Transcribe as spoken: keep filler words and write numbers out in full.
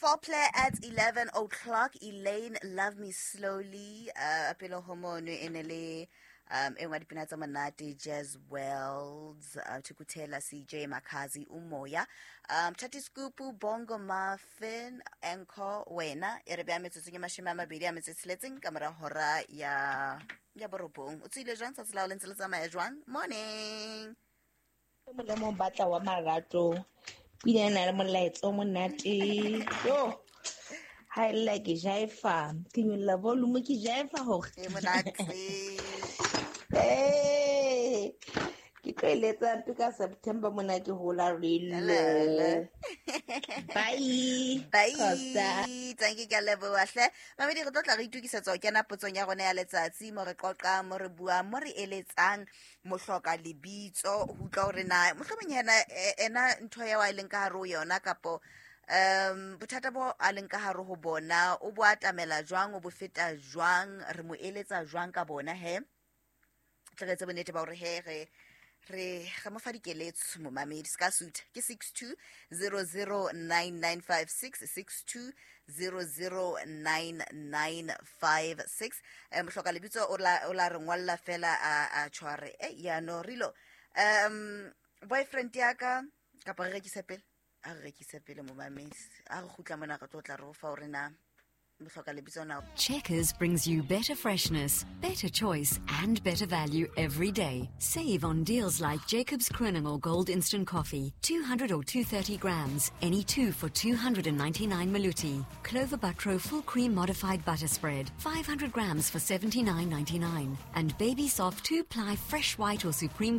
Foreplay at eleven o'clock. Elaine, Love Me Slowly. Uh, pele ho mono e ne le um e nngwe ya dipina tsa monate, Jazz Wells, uh, Thukuthela, C J Makhazi, Umoya, um Thati Scoop, Bongo Muffin, Anchor Wena. E re beha metsotsong e mashome a mabedi a metso e tsheletseng ka mora hora ya ya borobong. O tswile jwang tsatsi la hao, le ntse le tsamaya jwang? Morning. Molemo batla wa marato, pina ena le molaetsa o monate. Yo, ha e lla ke jaifa, ke nyolla volume, ke jaifa hore E monate. Eh, ke tlo eletsa mpe ka September mona, ke hola relo. Lele. Bye. Bye. Costa. Thank you, ke a leboha hle. Mamedi, re tlo tla re itukisetsa ho kena potsong ya rona ya letsatsi, mo re qoqang, mo re buang, mo re eletsang mohloka lebitso ho utlwa hore na mohlomong yena e- ena ntho eo a leng ka hare ho yona, kapo um bothata bo a leng ka hare ho bona, o bo atamela jwang, o bo feta jwang, re mo eletsa jwang ka bona. He, tle re etse bonnete ba hore he re re re mo fa dikeletso. Momamedi, se ka sutha, ke six two zero zero nine nine five six, six two zero zero nine nine five six. um mohloka lebitso o la o la re ngwalla fela a a tshware e yano rilo um boyfriend ya ka, kapa re rekise pele, a re rekise pele. Momamedi, a re kgutla mona, re tlo tla re o fa hore na mohloka lebitso na Checkers brings you better freshness, better choice, and better value every day. Save on deals like Jacobs Kroning Gold Instant Coffee, two hundred or two hundred thirty grams, any two for two hundred ninety-nine Maluti. Clover Buttro Full Cream Modified Butter Spread, five hundred grams for seventy-nine ninety-nine. And Baby Soft two-ply Fresh White or Supreme